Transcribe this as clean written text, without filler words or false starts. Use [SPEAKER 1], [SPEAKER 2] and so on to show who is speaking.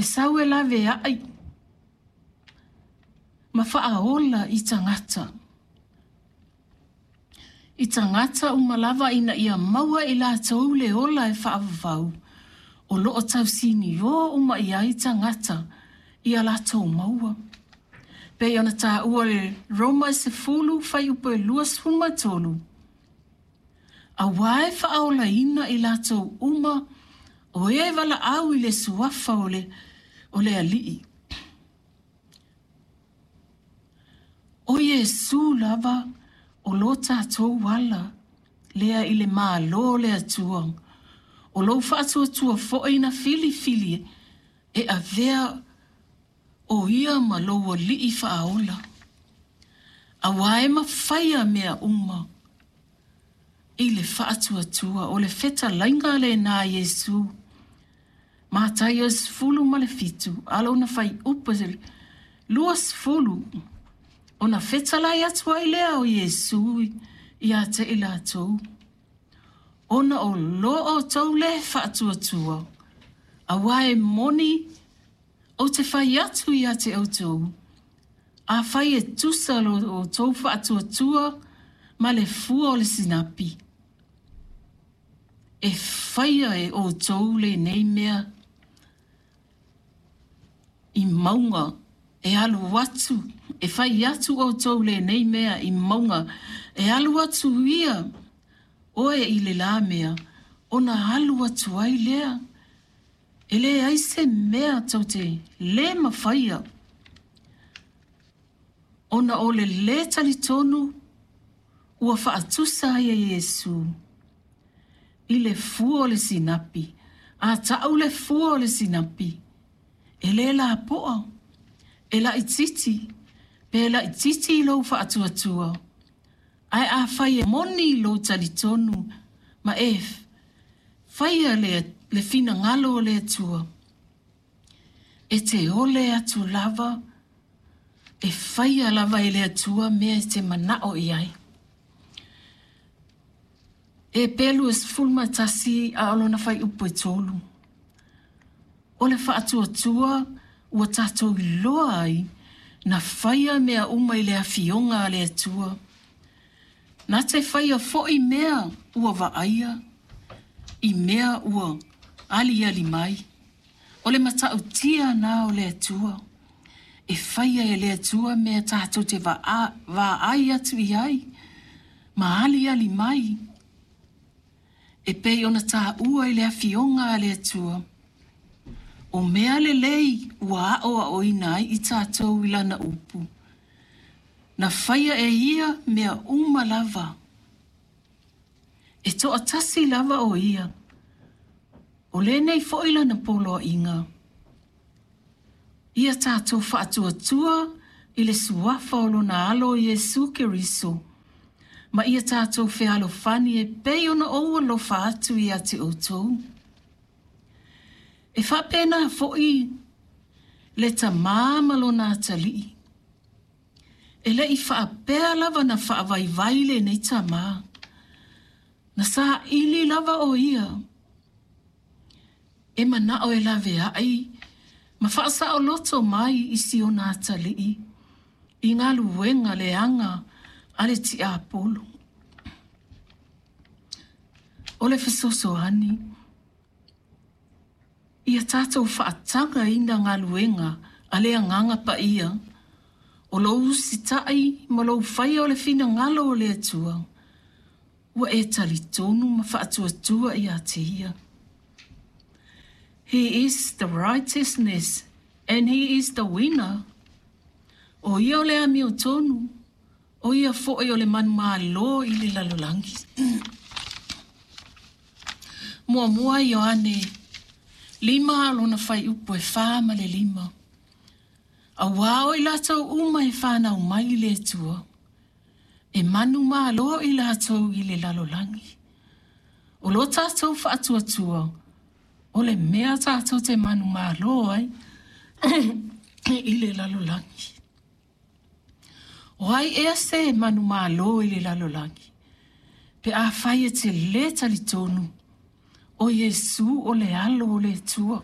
[SPEAKER 1] E sau e laveai ma faaola i tagata. I tagata uma lava ina ia maua e i latou le ola e faavavau, o lo o tausinio uma i ai tagata ia latou maua. Pei ona taua i le Roma e 10 fuaiupu e 23, Aua e faaolaina i latou uma o e valaau i le Suafa o le, o le Alii. O Iesu lava o lo tatou ala lea i le Malo o le Atua, o lou faatuatua foi na filifili e avea o ia ma lou Alii faaola. Aua e mafaia mea uma i le faatuatua, o le fetalaiga lena a Iesu. Mataio 17, a lona fuaiupu e 20, ona fetalai atu ai lea o Iesu ia te i latou, ona o lo outou le faatuatua, aua e moni ou te fai atu ia te outou, afai e tusa lo outou faatuatua ma le fua o le sinapi, e faia e outou lenei mea i mauga e alu atu, e fai atu outou lenei mea i mauga e alu atu ia oe i le la mea, ona alu atu ai lea. E leai se mea tou te lē mafaia, ona o le lē talitonu ua faatusa ai e Iesu i le fua o le sinapi. A ta'u le fua o le sinapi, e lē lapo'a, e laitiiti, pe laitiiti i lou faatuatua, ae afai e moni lou talitonu ma e faia le, le finagalo o le Atua, e te ole atu lava, e faia lava e le Atua mea e te mana'o i ai. Eperu e 11 a o lona fuaiupu e 3. O le faatuatua ua tatou iloa ai na faia mea uma i le afioga a le Atua. Na te faia foi mea ua vaaia i mea ua aliali mai. O le matautia na o le Atua. E faia e le Atua mea tatou te vaai atu i ai ma aliali mai e pei ona taua i le Afioga a le Atua, o mea lelei ua aoaoina ai i tatou i Lana upu, na faia e Ia mea uma lava. E toatasi lava o Ia, o lenei foi Lana poloaiga. Ia tatou faatuatua i le Suafa o Lona Alo Iesu Keriso, ma ia tatou fealofani e pei ona ou alofa atu ia te outou. E faapena foi le tamā ma lona atalii. E le i faapea lava na faavaivai lenei tamā. Na saili lava o ia e manao e laveai ma faasaoloto mai i si ona atalii i galuega leaga a le tiapolo. O le fesoasoani, ia tatou faatagaina galuega a le Agaga Paia, o lou usitai ma lou faia o le finagalo o le Atua, ua e talitonu ma faatuatua ia te Ia. He is the righteousness and he is the winner. O ia o le amiotonu, o ia foi o le manumalo i le lalolagi. Muamua Ioane 5 lona fuaiupu e 4 ma le 5. Aua o i latou uma e fanau mai i le Atua, e manumalo i latou i le lalolagi. O lo tatou faatuatua, o le mea tatou te manumalo ai i le lalolagi. O ai ea se manumalo i le lalolagi? Pe afai e te lē talitonu, o Iesu o le Alo o le Atua.